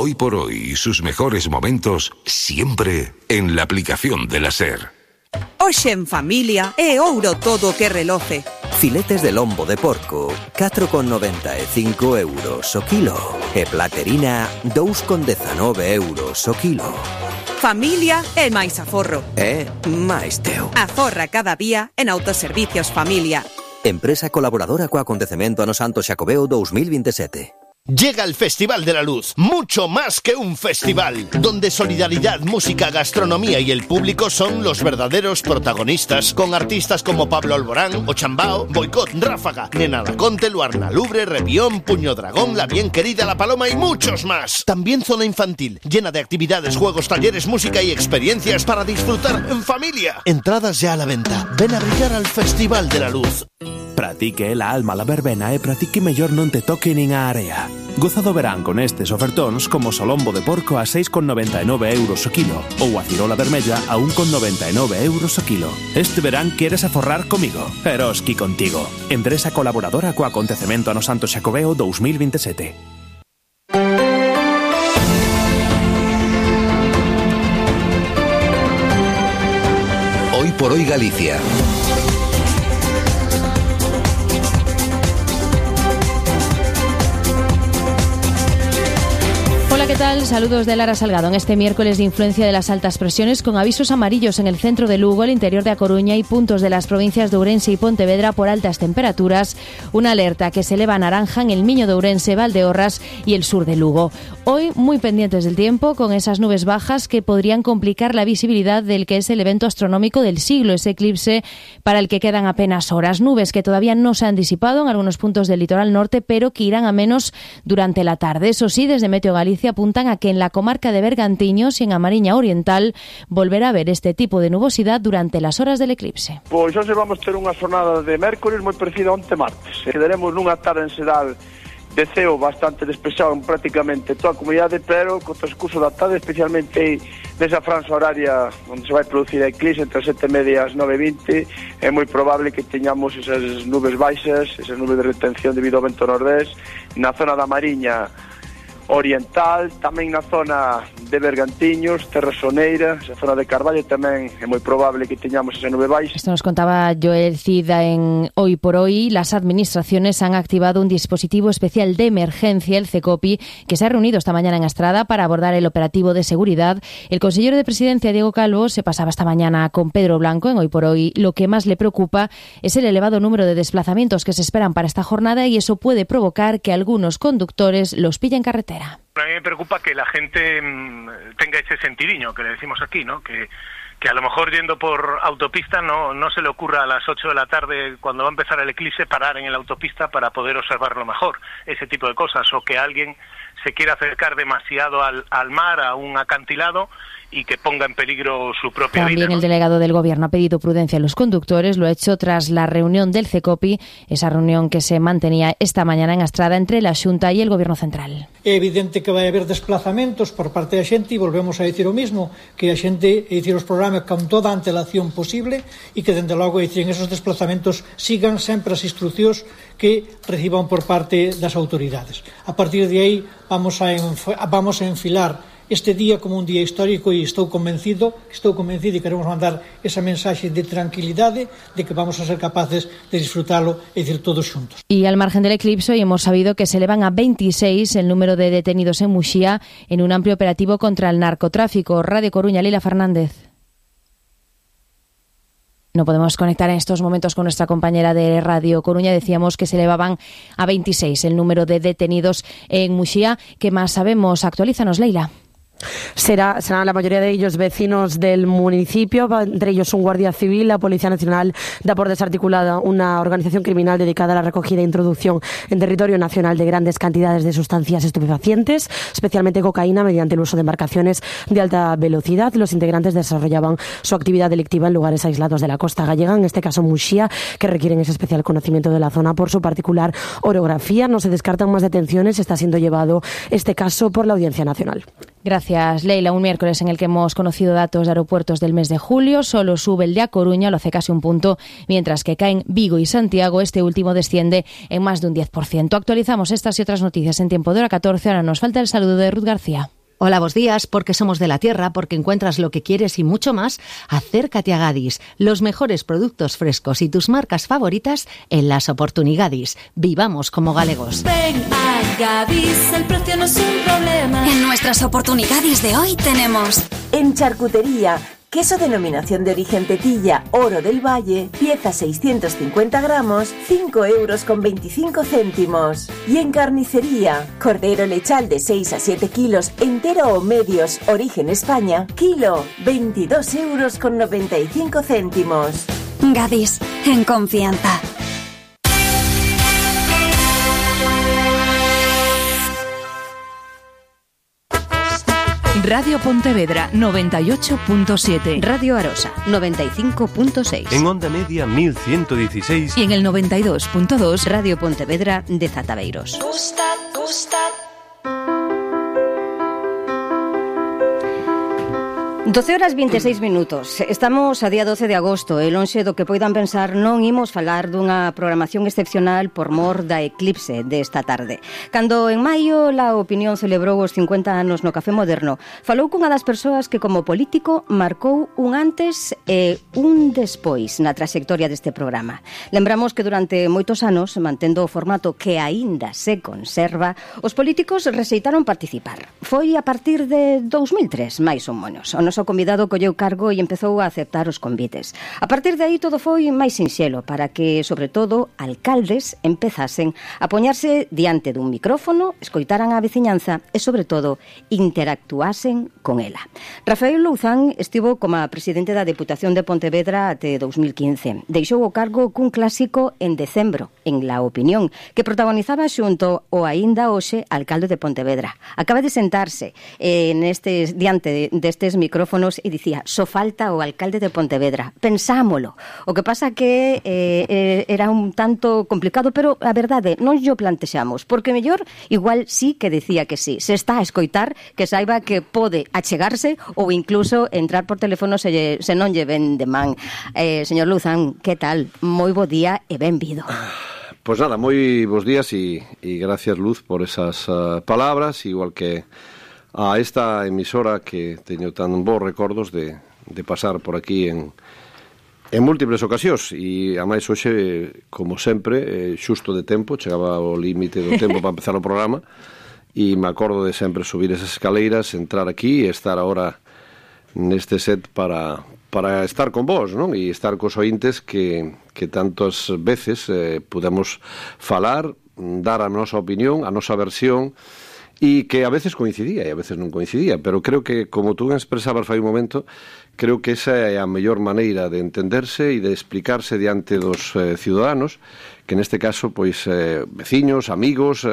Hoy por hoy, sus mejores momentos siempre en la aplicación de la SER. Hoxe en familia é ouro todo o que reloce. Filetes de lombo de porco, 4,95 euros o kilo. E platerina, 2,19 euros o kilo. Familia é máis aforro. É máis teu. Aforra cada día en Autoservicios Familia. Empresa colaboradora co acontecemento ano Santo Xacobeo 2027. Llega el Festival de la Luz, mucho más que un festival, donde solidaridad, música, gastronomía y el público son los verdaderos protagonistas, con artistas como Pablo Alborán, Ochambao, Boicot, Ráfaga, Nena Daconte, Luarna Lubre, Rebión, Puño Dragón, La Bien Querida, La Paloma y muchos más. También zona infantil, llena de actividades, juegos, talleres, música y experiencias para disfrutar en familia. Entradas ya a la venta. Ven a brillar al Festival de la Luz. Pratique la alma la verbena e pratique mellor non te toque nin a area. Goza do verán con estes ofertóns como solombo de porco a 6,99 euros o kilo ou a cirola vermella a 1,99 euros o kilo. Este verán queres aforrar comigo. Eroski contigo. Empresa colaboradora co acontecemento ano Santo Xacobeo 2027. Hoy por hoy Galicia. Hola, ¿qué tal? Saludos de Lara Salgado. En este miércoles de influencia de las altas presiones, con avisos amarillos en el centro de Lugo, el interior de A Coruña y puntos de las provincias de Ourense y Pontevedra por altas temperaturas, una alerta que se eleva a naranja en el Miño de Ourense, Valdeorras y el sur de Lugo. Hoy muy pendientes del tiempo, con esas nubes bajas que podrían complicar la visibilidad del que es el evento astronómico del siglo, ese eclipse para el que quedan apenas horas. Nubes que todavía no se han disipado en algunos puntos del litoral norte, pero que irán a menos durante la tarde. Eso sí, desde Meteo Galicia apuntan a que en la comarca de Bergantiños y en a Mariña Oriental volverá a haber este tipo de nubosidad durante las horas del eclipse. Pois hoxe vamos ter unha xornada de mércores moi parecida a onte martes. Quedaremos nunha tarde en xeral de ceo bastante despexado en prácticamente toda a comunidade, pero co transcurso da tarde, especialmente nesa franxa horaria onde se vai producir a eclipse entre as 7:30 e as 9:20, é moi probable que teñamos esas nubes baixas, esas nubes de retención debido ao vento nordés na zona da Mariña Oriental, tamén na zona de Bergantiños, Terra Soneira, esa zona de Carballo tamén é moi probable que teñamos esa nube baixa. Esto nos contaba Joel Cida en Hoy por Hoy. Las administraciones han activado un dispositivo especial de emergencia, el CECOPI, que se ha reunido esta mañana en Astrada para abordar el operativo de seguridad. El consejero de Presidencia, Diego Calvo, se pasaba esta mañana con Pedro Blanco en Hoy por Hoy. Lo que más le preocupa es el elevado número de desplazamientos que se esperan para esta jornada y eso puede provocar que algunos conductores los pillen en carretera. A mí me preocupa que la gente tenga ese sentidiño que le decimos aquí, ¿no? Que a lo mejor yendo por autopista no se le ocurra a las 8 de la tarde, cuando va a empezar el eclipse, parar en la autopista para poder observarlo mejor, ese tipo de cosas, o que alguien se quiera acercar demasiado al mar, a un acantilado, y que ponga en peligro su propia vida. También el delegado del Gobierno ha pedido prudencia a los conductores, lo ha hecho tras la reunión del CECOPI, esa reunión que se mantenía esta mañana en Astrada entre la Xunta y el Gobierno Central. É evidente que vai haber desplazamentos por parte da xente e volvemos a dicir o mismo, que a xente, dicir os programas con toda a antelación posible e que, dende logo, dicir, en esos desplazamentos sigan sempre as instruccións que reciban por parte das autoridades. A partir de aí vamos a enfilar este día como un día histórico e estou convencido e queremos mandar esa mensaxe de tranquilidade de que vamos a ser capaces de disfrutalo e decir todos xuntos. Y al margen del eclipse, hoy hemos sabido que se elevan a 26 el número de detenidos en Muxía en un amplio operativo contra el narcotráfico. Radio Coruña, Lila Fernández. No podemos conectar en estos momentos con nuestra compañera de Radio Coruña. Decíamos que se elevaban a 26 el número de detenidos en Muxía. ¿Qué más sabemos? Actualízanos, Leila. Serán la mayoría de ellos vecinos del municipio, entre ellos un guardia civil. La Policía Nacional da por desarticulada una organización criminal dedicada a la recogida e introducción en territorio nacional de grandes cantidades de sustancias estupefacientes, especialmente cocaína, mediante el uso de embarcaciones de alta velocidad. Los integrantes desarrollaban su actividad delictiva en lugares aislados de la costa gallega, en este caso Muxía, que requieren ese especial conocimiento de la zona por su particular orografía. No se descartan más detenciones. Está siendo llevado este caso por la Audiencia Nacional. Gracias, Leila. Un miércoles en el que hemos conocido datos de aeropuertos del mes de julio. Solo sube el de A Coruña, lo hace casi un punto, mientras que caen Vigo y Santiago. Este último desciende en más de un 10%. Actualizamos estas y otras noticias en tiempo de hora 14. Ahora nos falta el saludo de Ruth García. Hola, buenos días, porque somos de la tierra, porque encuentras lo que quieres y mucho más. Acércate a Gadis, los mejores productos frescos y tus marcas favoritas en las Oportunigadis. Vivamos como galegos. Ven a Gadis, el precio no es un problema. En nuestras Oportunigadis de hoy tenemos... En charcutería, queso denominación de origen Tetilla, Oro del Valle, pieza 650 gramos, 5,25 €. Y en carnicería, cordero lechal de 6 a 7 kilos, entero o medios, origen España, kilo, 22,95 €. Gadis, en confianza. Radio Pontevedra 98.7, Radio Arosa 95.6, en onda media 1116 y en el 92.2 Radio Pontevedra de Zataveiros. 12:26. Estamos a día 12 de agosto e lonxe do que poidan pensar non imos falar dunha programación excepcional por mor da eclipse desta tarde. Cando en maio La Opinión celebrou os 50 anos no Café Moderno, falou cunha das persoas que como político marcou un antes e un despois na traxectoria deste programa. Lembramos que durante moitos anos, mantendo o formato que aínda se conserva, os políticos rexeitaron participar. Foi a partir de 2003, máis ou menos. O noso convidado colleu cargo e empezou a aceptar os convites. A partir de aí todo foi máis sinxelo para que, sobre todo, alcaldes empezasen a poñarse diante dun micrófono, escoitaran a veciñanza e, sobre todo, interactuasen con ela. Rafael Louzán estivo como presidente da Deputación de Pontevedra até 2015. Deixou o cargo cun clásico en decembro, en La Opinión, que protagonizaba xunto o aínda hoxe alcalde de Pontevedra. Acaba de sentarse diante destes micrófonos e dicía, só falta o alcalde de Pontevedra. Pensámolo. O que pasa que era un tanto complicado, pero a verdade, non yo plantexamos, porque mellor igual sí que decía que sí. Se está a escoitar, que saiba que pode achegarse ou incluso entrar por teléfono se non lle ven de man. Señor Louzán, que tal? Moi bo día e benvido. Pues nada, moi bons días e gracias, Luz, por esas palabras, igual que a esta emisora que teño tan bons recordos de pasar por aquí en múltiples ocasións e a máis hoxe, como sempre, xusto de tempo, chegaba ao límite do tempo para empezar o programa e me acordo de sempre subir esas escaleiras, entrar aquí e estar agora neste set para estar con vos, non? E estar cos ointes que tantas veces podemos falar, dar a nosa opinión, a nosa versión, e que a veces coincidía e a veces non coincidía, pero creo que, como tú expresabas fai un momento, creo que esa é a mellor maneira de entenderse e de explicarse diante dos ciudadanos, que neste caso, pois, veciños, amigos,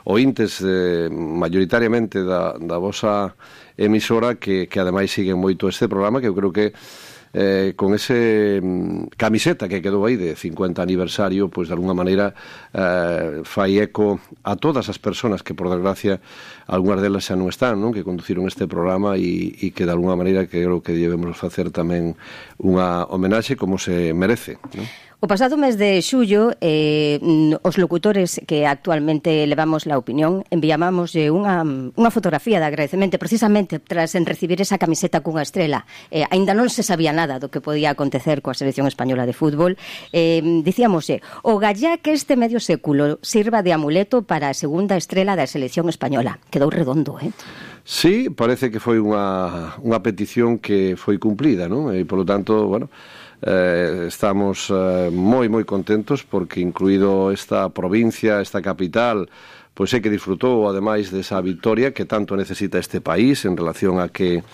ointes mayoritariamente da vosa emisora que ademais siguen moito este programa, que eu creo que con ese camiseta que quedou aí de 50 aniversario, pois de alguna maneira fai eco a todas as persoas que, por desgracia, algunhas delas xa non están, non? Que conduciron este programa e que de alguna maneira creo que debemos facer tamén unha homenaxe como se merece, non? O pasado mes de xullo, os locutores que actualmente levamos La Opinión enviábamos unha fotografía de agradecemento precisamente tras en recibir esa camiseta cunha estrela. Aínda non se sabía nada do que podía acontecer coa selección española de fútbol. Dicíamoslle, o gallá que este medio século sirva de amuleto para a segunda estrela da selección española. Quedou redondo, Sí, parece que foi unha petición que foi cumplida, non? E, polo tanto, bueno, estamos moi contentos porque incluído esta provincia, esta capital, pois é que disfrutou ademais desa victoria que tanto necesita este país en relación a que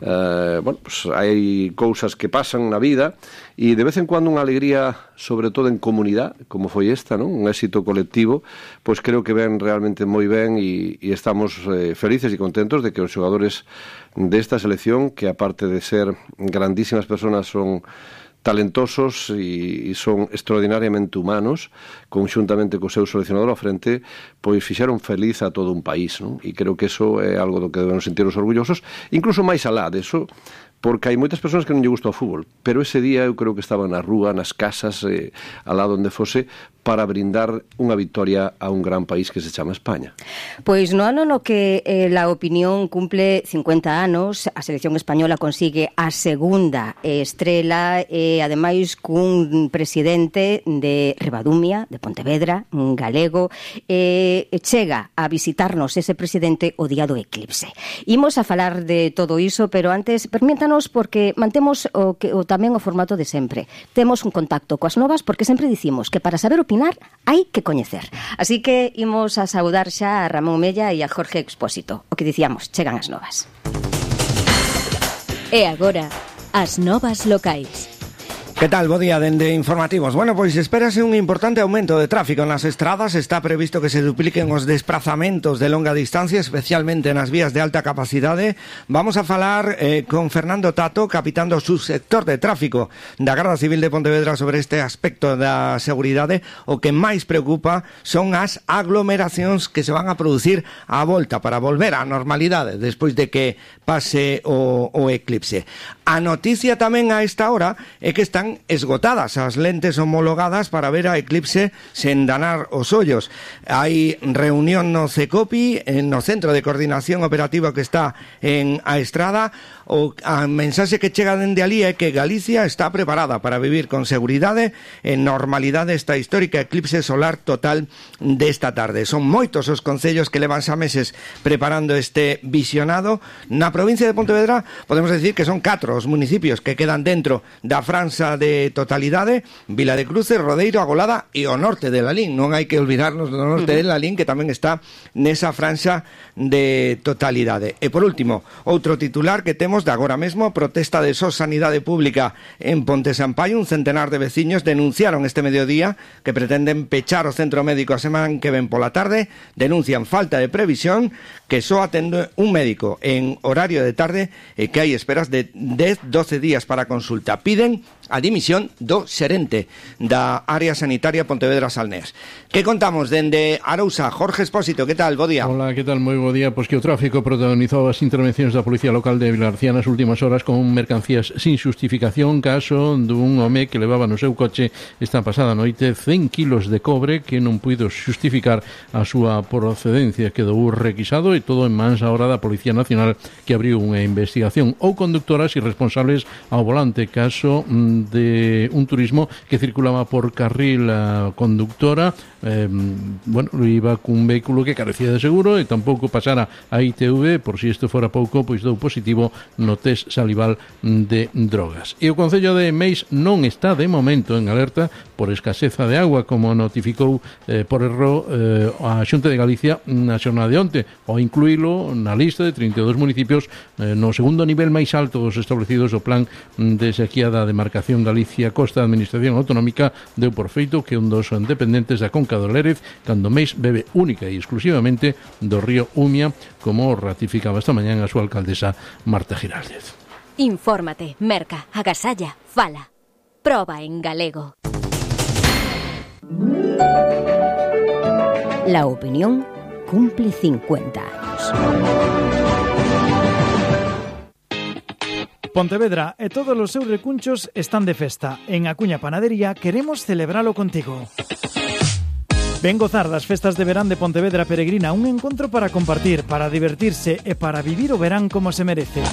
pues hai cousas que pasan na vida e de vez en cuando unha alegría, sobre todo en comunidade, como foi esta, non? Un éxito colectivo, pois creo que ven realmente moi ben e estamos felices e contentos de que os xogadores desta selección, que aparte de ser grandísimas persoas son talentosos e son extraordinariamente humanos, conxuntamente co seu seleccionador ao frente, pois fixeron feliz a todo un país, non? E creo que eso é algo do que debemos sentirnos orgullosos, incluso máis alá deso, porque hai moitas persoas que non lle gusta o fútbol, pero ese día eu creo que estaban na rúa, nas casas, alá onde fose, para brindar unha victoria a un gran país que se chama España. Pois no ano no que la opinión cumple 50 anos, a selección española consigue a segunda estrela e ademais cun presidente de Ribadumia, de Pontevedra, un galego, chega a visitarnos ese presidente o día do eclipse. Imos a falar de todo iso, pero antes permítanos porque mantemos tamén o formato de sempre. Temos un contacto coas novas porque sempre dicimos que para saber opinar hai que coñecer. Así que imos a saudar xa a Ramón Mella e a Jorge Expósito. O que dicíamos, chegan as novas. E agora, as novas locais. Que tal? Bo día dende Informativos. Bueno, pois espérase un importante aumento de tráfico nas estradas. Está previsto que se dupliquen os desplazamentos de longa distancia, especialmente nas vías de alta capacidade. Vamos a falar con Fernando Tato, capitán do subsector de tráfico da Garda Civil de Pontevedra sobre este aspecto da seguridade. O que máis preocupa son as aglomeracións que se van a producir á volta para volver á normalidade despois de que pase o eclipse. A noticia tamén a esta hora é que están esgotadas as lentes homologadas para ver a eclipse sen danar os ollos. Hai reunión no CECOPI, no Centro de Coordinación Operativa que está en A Estrada. A mensaxe que chega dende alí é que Galicia está preparada para vivir con seguridade en normalidade esta histórica eclipse solar total desta tarde. Son moitos os concellos que levan xa meses preparando este visionado. Na provincia de Pontevedra podemos decir que son 4 os municipios que quedan dentro da franxa de totalidade: Vila de Cruces, Rodeiro, Agolada e o norte de Lalín. Non hai que olvidarnos do norte de Lalín, que tamén está nesa franxa de totalidade. E por último, outro titular que temos de agora mesmo: protesta de SOS Sanidade Pública en Ponte Sampaio. Un centenar de veciños denunciaron este mediodía que pretenden pechar o centro médico a semana que ven pola tarde. Denuncian falta de previsión, que só atende un médico en horario de tarde e que hai esperas de 10-12 días para consulta. Piden a dimisión do xerente da área sanitaria Pontevedra-Salnés. Que contamos dende Arousa? Jorge Expósito, que tal? Bo día. Hola, que tal? Moi bo día. Pois que o tráfico protagonizou as intervencións da Policía Local de Vilagarcía nas últimas horas con mercancías sin xustificación, caso dun home que levaba no seu coche esta pasada noite 100 kilos de cobre que non puido xustificar a súa procedencia. Quedou requisado e todo en mans ahora da Policía Nacional, que abriu unha investigación. Ou conductoras irresponsables ao volante, caso de un turismo que circulaba por carril conductora, iba cun vehículo que carecía de seguro e tampouco pasara a ITV, por si isto fora pouco, pois dou positivo no test salival de drogas. E o Concello de Meis non está de momento en alerta por escaseza de agua, como notificou por erro a Xunta de Galicia na xornada de onte, ao incluílo na lista de 32 municipios no segundo nivel máis alto dos establecidos do plan de sequía da demarcación Galicia Costa. A Administración Autonómica deu por feito que un dos dependentes da Conca do Lérez, cando Meis, bebe única e exclusivamente do río Umia, como ratificaba esta mañá a súa alcaldesa Marta Giraldez. Infórmate, merca, agasalla, fala. Proba en galego. La opinión cumple 50 años. Pontevedra e todos os seus recunchos están de festa. En Acuña Panadería queremos celebralo contigo. Ven gozar das festas de verán de Pontevedra Peregrina, un encontro para compartir, para divertirse e para vivir o verán como se merece.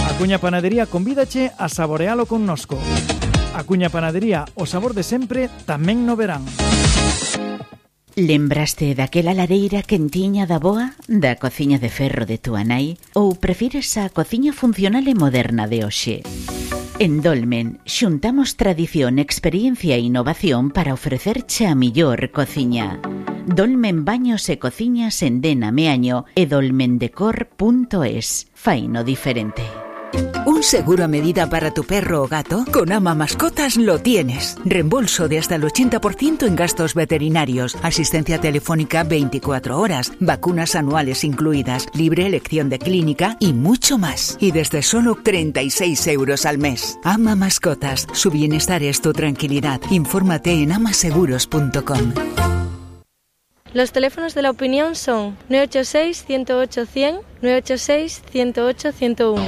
Acuña Panadería convídache a saborealo connosco. Acuña Panadería, o sabor de sempre, tamén no verán. Lembraste daquela lareira quentiña da boa, da cociña de ferro de túa nai, ou prefires a cociña funcional e moderna de hoxe? En Dolmen xuntamos tradición, experiencia e innovación para ofrecerche a millor cociña. Dolmen Baños e Cociñas en Dena Meaño e dolmendecor.es. Faino diferente. ¿Un seguro a medida para tu perro o gato? Con Ama Mascotas lo tienes. Reembolso de hasta el 80% en gastos veterinarios, asistencia telefónica 24 horas, vacunas anuales incluidas, libre elección de clínica y mucho más. Y desde solo 36 euros al mes. Ama Mascotas. Su bienestar es tu tranquilidad. Infórmate en amaseguros.com. Los teléfonos de la opinión son 986-108-100, 986-108-101.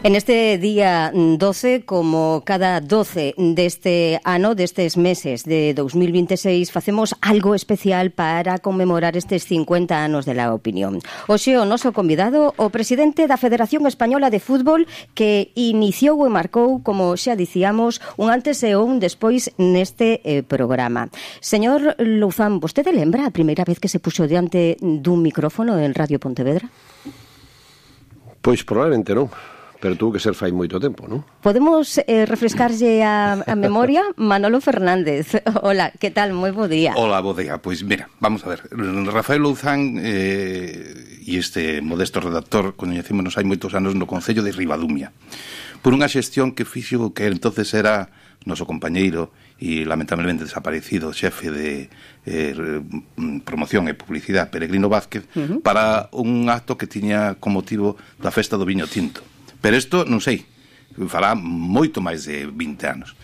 En este día 12, como cada 12 deste ano, destes meses de 2026, facemos algo especial para conmemorar estes 50 anos de la opinión. Hoxe o noso convidado, o presidente da Federación Española de Fútbol, que iniciou e marcou, como xa dicíamos, un antes e un despois neste programa. Señor Louzán, vostede lembra a primeira vez que se puxo diante dun micrófono en Radio Pontevedra? Pois probablemente non. Pero tuvo que ser fai moito tempo, non? Podemos refrescarlle a memoria? Manolo Fernández. Hola, que tal? Moi bo día. Hola, bo día. Pois mira, vamos a ver. Rafael Louzán e este modesto redactor coñecémonos hai moitos anos no Concello de Ribadumia por unha xestión que fixo que entonces era noso compañeiro e lamentablemente desaparecido xefe de promoción e publicidade, Peregrino Vázquez, para un acto que tiña como motivo da festa do viño tinto. Pero isto, non sei, fará moito máis de 20 anos.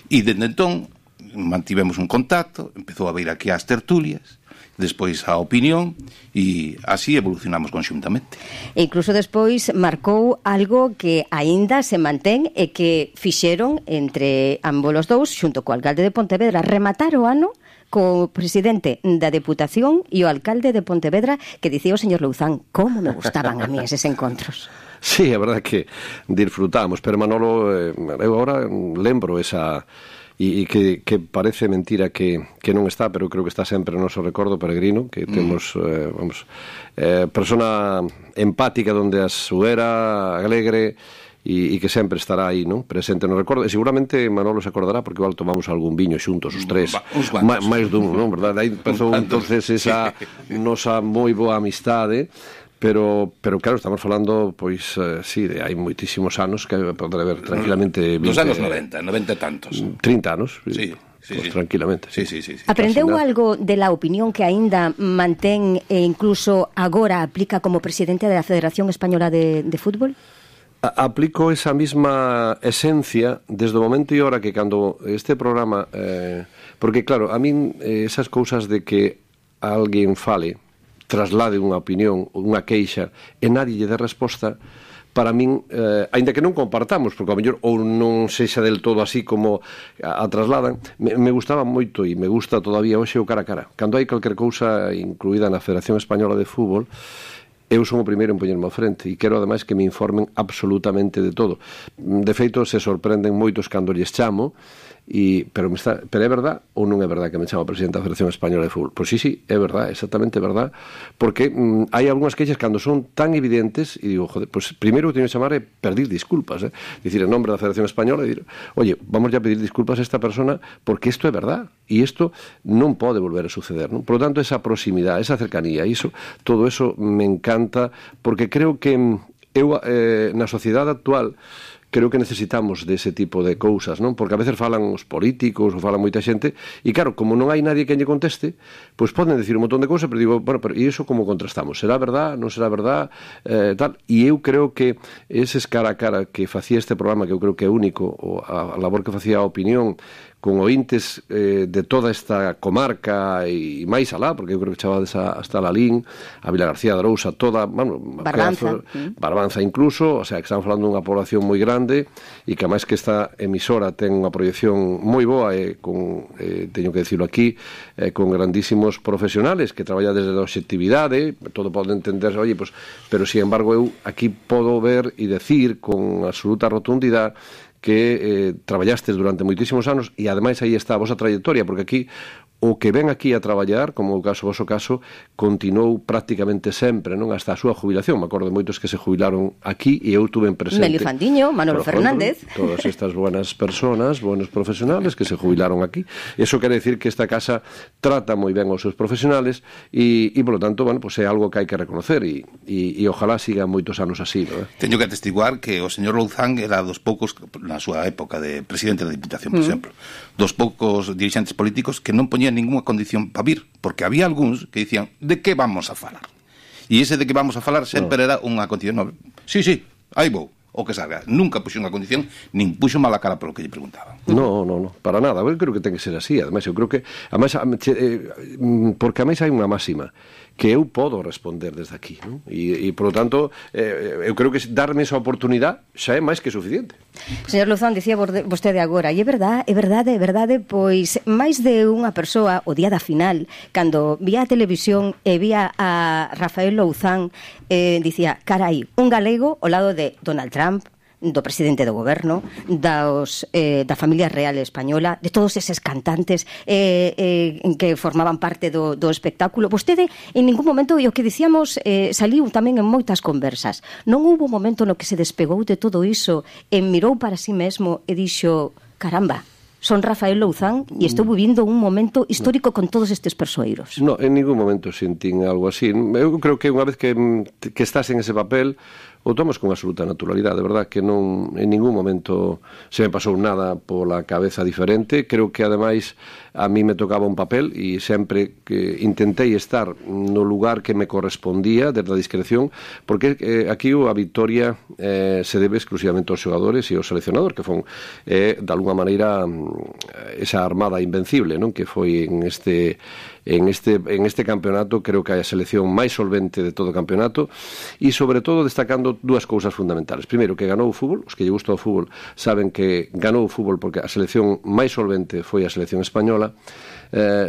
E dende entón mantivemos un contacto, empezou a vir aquí ás tertulias, despois a opinión, e así evolucionamos conxuntamente. E incluso despois marcou algo que aínda se mantén e que fixeron entre ambos os dous, xunto co alcalde de Pontevedra, rematar o ano co presidente da Deputación e o alcalde de Pontevedra, que dicía o señor Louzán, como me gustaban a mí eses encontros. Sí, é verdade que disfrutamos, pero Manolo, eu agora lembro esa... E que parece mentira que non está, pero creo que está sempre no noso recordo, Peregrino, que temos, persona empática donde a súera, alegre, e que sempre estará aí, non? Presente no recordo. E seguramente Manolo se acordará porque igual tomamos algún viño xuntos os tres, máis dun, non? Verdade? Aí empezou entonces esa nosa moi boa amistade. Pero claro, estamos falando, pois, sí, de hai moitísimos anos que podrá haber tranquilamente... Dos anos 90 e tantos. 30 anos, sí, pues tranquilamente. Sí. Aprendeu algo de la opinión que aínda mantén e incluso agora aplica como presidente da Federación Española de Fútbol? Aplico esa misma esencia desde o momento e hora que cando este programa... porque claro, a min esas cousas de que alguén fale, traslade unha opinión, unha queixa, e nadie lle dé resposta, para min, aínda que non compartamos, porque ao mellor ou non sexa del todo así como a trasladan, me gustaba moito e me gusta todavía hoxe o cara a cara. Cando hai calquer cousa incluída na Federación Española de Fútbol, eu son o primeiro en poñerme ao frente e quero ademais que me informen absolutamente de todo. De feito, se sorprenden moitos cando lles chamo, pero é verdad ou non é verdad que me chamo presidente da Federación Española de Fútbol? Pois sí, é verdad, exactamente verdad, porque hai algunhas queixas cando son tan evidentes e digo, joder, pois primeiro que teño que chamar é pedir disculpas, dicir en nombre da Federación Española, e dir, oye, vamos ya a pedir disculpas a esta persona porque isto é verdad e isto non pode volver a suceder, non? Por lo tanto, esa proximidade, esa cercanía, todo eso me encanta, porque creo que eu na sociedade actual creo que necesitamos dese tipo de cousas, non? Porque a veces falan os políticos ou falan moita xente e claro, como non hai nadie que lle conteste, pois poden decir un montón de cousas, pero digo, bueno, pero e iso como contrastamos? Será verdad? Non será verdad? Tal. E eu creo que eses cara a cara que facía este programa, que eu creo que é único, a labor que facía a opinión con ointes de toda esta comarca e máis alá, porque eu creo que chavades hasta Lalín, a Vila García de Arousa, toda, bueno, Barbanza incluso, o sea, que estamos falando dunha población moi grande e que máis que esta emisora ten unha proyección moi boa e teño que decirlo aquí, con grandísimos profesionales que traballan desde a obxectividade, todo pode entender, oye, pues, pero sin embargo eu aquí podo ver e decir con absoluta rotundidade que traballastes durante moitísimos anos e ademais aí está a vosa trayectoria, porque aquí o que ven aquí a traballar, como o voso caso, continuou prácticamente sempre, non, hasta a súa jubilación. Me acordo de moitos que se jubilaron aquí e eu tuve presente. Melio Fandiño, Manolo Fernández. Todas estas buenas personas, buenos profesionales que se jubilaron aquí. Eso quere decir que esta casa trata moi ben aos seus profesionales e por lo tanto, bueno, pues é algo que hai que reconocer e ojalá siga moitos anos así, non? Teño que atestiguar que o señor Louzán era dos poucos, na súa época de presidente da Diputación, por exemplo, dos poucos dirixentes políticos que non poñían ninguna condición para vir, porque había algúns que dicían, de que vamos a falar? E ese de que vamos a falar sempre era unha condición. No, sí, aí vou, o que salga. Nunca puxo unha condición, nin puxo mala cara polo que lle preguntaban. No, para nada. Eu creo que ten que ser así. Ademais, eu creo que porque ademais hai unha máxima que eu podo responder desde aquí, non? E por lo tanto, eu creo que darme esa oportunidade xa é máis que suficiente. Señor Louzán, dicía vostede agora, e é verdade, pois máis de unha persoa o día da final, cando vía a televisión e vía a Rafael Louzán, dicía, carai, un galego ao lado de Donald Trump, do presidente do goberno, da familia real española, de todos eses cantantes que formaban parte do espectáculo. Vostede, en ningún momento, e o que dicíamos, saliu tamén en moitas conversas. Non houbo momento no que se despegou de todo iso e mirou para si mesmo e dixo, caramba, son Rafael Louzán e estou vivindo un momento histórico con todos estes persoeiros. No, en ningún momento sentín algo así. Eu creo que unha vez que estás en ese papel, o tomas con absoluta naturalidade, de verdad que non en ningún momento se me pasou nada pola cabeza diferente. Creo que ademais a mí me tocaba un papel e sempre que intentei estar no lugar que me correspondía desde a discreción, porque aquí a victoria se debe exclusivamente aos xogadores e ao seleccionador, que fon de alguna maneira esa armada invencible, non, que foi en este campeonato. Creo que é a selección máis solvente de todo o campeonato e sobre todo destacando dúas cousas fundamentales. Primeiro, que ganou o fútbol. Os que lle gusta o fútbol saben que ganou o fútbol porque a selección máis solvente foi a selección española,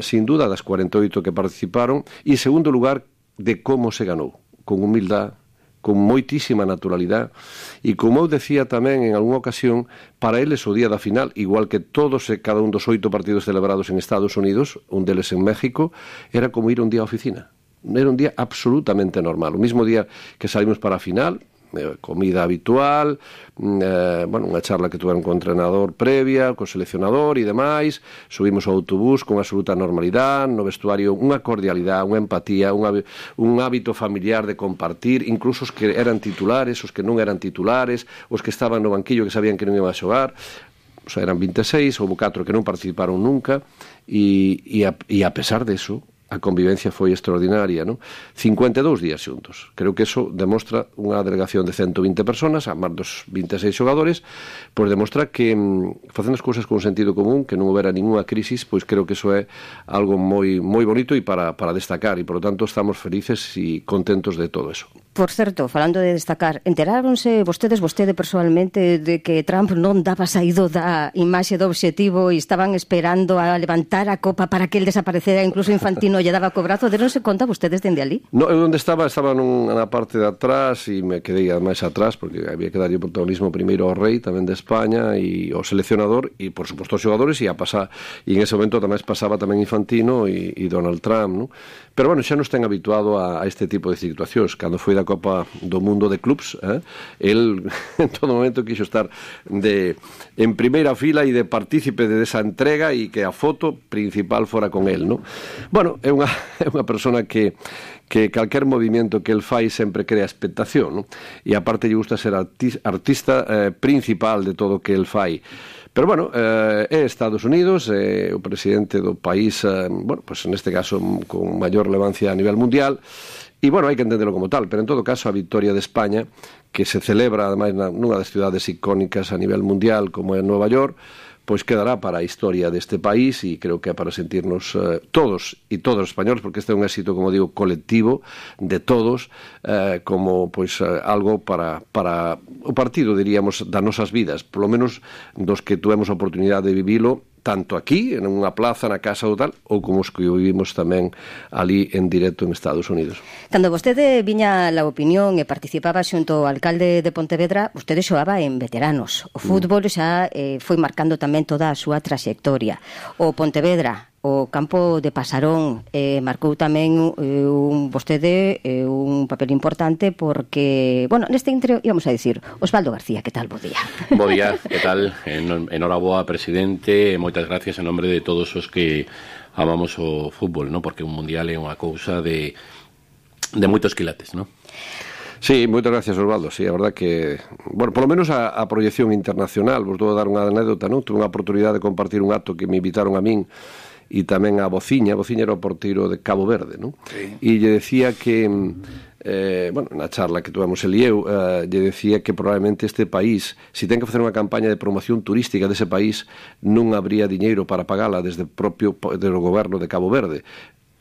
sin duda das 48 que participaron. E segundo lugar, de como se ganou, con humildade, con moitísima naturalidade e, como eu decía tamén en algunha ocasión, para eles o día da final, igual que todos e cada un dos 8 partidos celebrados en Estados Unidos, un deles en México, era como ir un día á oficina. Era un día absolutamente normal. O mismo día que salimos para a final, comida habitual, unha charla que tuveron con o entrenador previa, co seleccionador e demais, subimos ao autobús con absoluta normalidade, no vestuario unha cordialidade, unha empatía, un hábito familiar de compartir, incluso os que eran titulares, os que non eran titulares, os que estaban no banquillo que sabían que non iban a xogar. O sea, eran 26, houve 4 que non participaron nunca e a pesar de eso, a convivencia foi extraordinaria, non? 52 días xuntos. Creo que eso demostra unha delegación de 120 personas, a máis dos 26 xogadores, pois demostra que facendo as cousas con sentido común, que non houbera ninguna crisis, pois creo que eso é algo moi bonito e para destacar, e por lo tanto estamos felices e contentos de todo eso. Por certo, falando de destacar, enteráronse vostede persoalmente de que Trump non daba saído da imaxe do obxectivo e estaban esperando a levantar a copa para que el desaparecera, incluso Infantino lle daba cobrazo? Deronse conta vostedes dende ali? No, eu onde estaba na parte de atrás e me quedei máis atrás porque había que darlle protagonismo primeiro ao rei tamén de España e ao seleccionador e por suposto aos xogadores e en ese momento tamén pasaba tamén Infantino e Donald Trump, non? Pero bueno, xa nos ten habituado a este tipo de situacións. Cando foi da Copa do Mundo de Clubs, el en todo momento quixo estar en primeira fila e de partícipe de esa entrega e que a foto principal fora con el, non? Bueno, é unha persona que calquer movimento que el fai sempre crea expectación, non? E aparte lle gusta ser artista principal de todo o que el fai. Pero bueno, é Estados Unidos, o presidente do país, bueno, pues en este caso con maior relevancia a nivel mundial, e bueno, hai que entenderlo como tal, pero en todo caso a victoria de España, que se celebra ademais nunha das cidades icónicas a nivel mundial como é Nova York, pois quedará para a historia deste país e creo que é para sentirnos todos e todos os españoles, porque este é un éxito, como digo, colectivo de todos, como pois algo para o partido, diríamos, das nosas vidas, polo menos dos que tuvemos a oportunidade de vivilo tanto aquí, en unha plaza, na casa ou tal, ou como os que vivimos tamén ali en directo en Estados Unidos. Cando vostede viña a La Opinión e participaba xunto ao alcalde de Pontevedra, vostede xoaba en veteranos. O fútbol xa foi marcando tamén toda a súa traxectoria. O Pontevedra o campo de Pasarón. Marcou tamén vostede un papel importante porque, bueno, neste intro íbamos a dicir, Osvaldo García, que tal? Bo día. Bo día, que tal? Enhoraboa, presidente, moitas gracias en nombre de todos os que amamos o fútbol, ¿no? Porque un mundial é unha cousa de moitos quilates, ¿no? Sí, moitas gracias, Osvaldo. Sí, a verdad que, bueno, polo menos a proyección internacional, vos vou dar unha anécdota, non? Tuve unha oportunidade de compartir un acto que me invitaron a min e tamén a Bociña. Bociña era o porteiro de Cabo Verde, non? Sí. E lle decía que, bueno, na charla que tuvemos el e eu, lle decía que probablemente este país, se ten que facer unha campaña de promoción turística dese país, non habría diñeiro para pagala desde o propio goberno de Cabo Verde.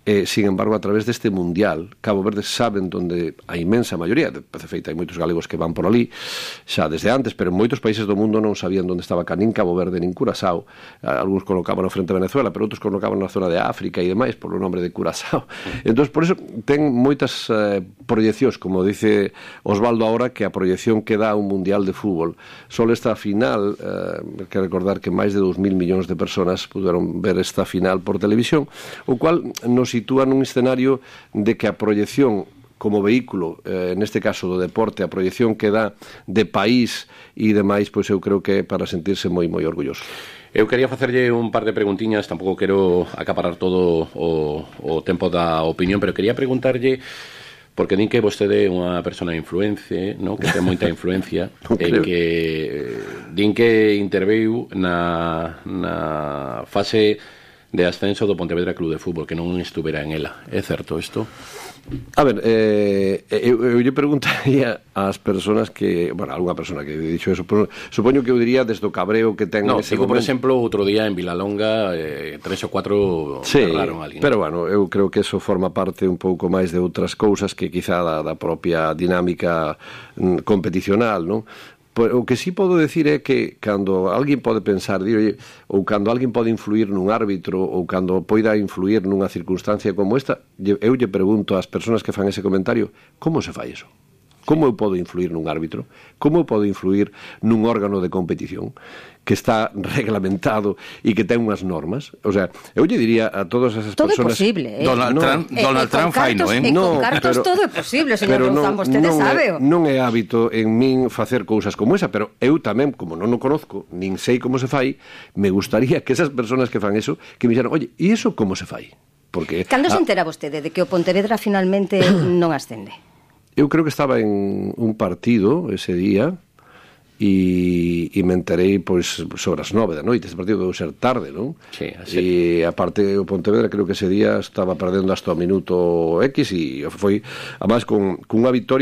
Sin embargo, a través deste mundial, Cabo Verde saben donde a inmensa maioría, de feita hai moitos galegos que van por ali xa desde antes, pero en moitos países do mundo non sabían onde estaba nin Cabo Verde nin Curazao. Algúns colocaban frente a Venezuela, pero outros colocaban na zona de África e demais polo nombre de Curazao. Entón, por eso ten moitas proyeccións, como dice Osvaldo ahora, que a proyección que dá un mundial de fútbol. Só esta final, que recordar que máis de 2.000 millóns de personas puderon ver esta final por televisión, o cual nos sitúa nun escenario de que a proyección como vehículo, neste caso do deporte, a proyección que dá de país e demais, pois eu creo que é para sentirse moi, moi orgulloso. Eu quería facerlle un par de preguntiñas, tampouco quero acaparar todo o tempo da opinión, pero quería preguntarlle, porque din que vostede é unha persona de influencia, ¿no? Que ten moita influencia, e que din que interveu na fase de ascenso do Pontevedra Club de Fútbol, que non estuvera en ela. É certo isto? A ver, eu lle preguntaría ás persoas que, bueno, algunha persona que dixo eso, pero supoño que eu diría desde o cabreo que ten ese digo, momento. Por exemplo, outro día en Vilalonga 3 ou 4 cerraron a alguén. Pero bueno, eu creo que eso forma parte un pouco máis de outras cousas que quizá da propia dinámica competicional, non? O que sí podo decir é que cando alguén pode pensar, ou cando alguén pode influir nun árbitro, ou cando poida influir nunha circunstancia como esta, eu lle pregunto ás persoas que fan ese comentario, como se fai eso? Como eu podo influir nun árbitro? Como eu podo influir nun órgano de competición que está reglamentado e que ten unhas normas? O sea, eu lle diría a todas esas todo personas... Todo é posible, Donald Trump fai, non? Con cartos todo é posible, señor Louzán, vostede sabe. Non é hábito en min facer cousas como esa, pero eu tamén, como non o conozco, nin sei como se fai, me gustaría que esas persoas que fan eso, que me dixeran, oye, e iso como se fai? Porque... Cando se entera vostede de que o Pontevedra finalmente non ascende? Eu creo que estaba en un partido ese día e me enterei pois sobre as 9 da noite. Este partido deu ser tarde, non? Sí, así. E aparte o Pontevedra creo que ese día estaba perdendo hasta o minuto X e foi además con unha victoria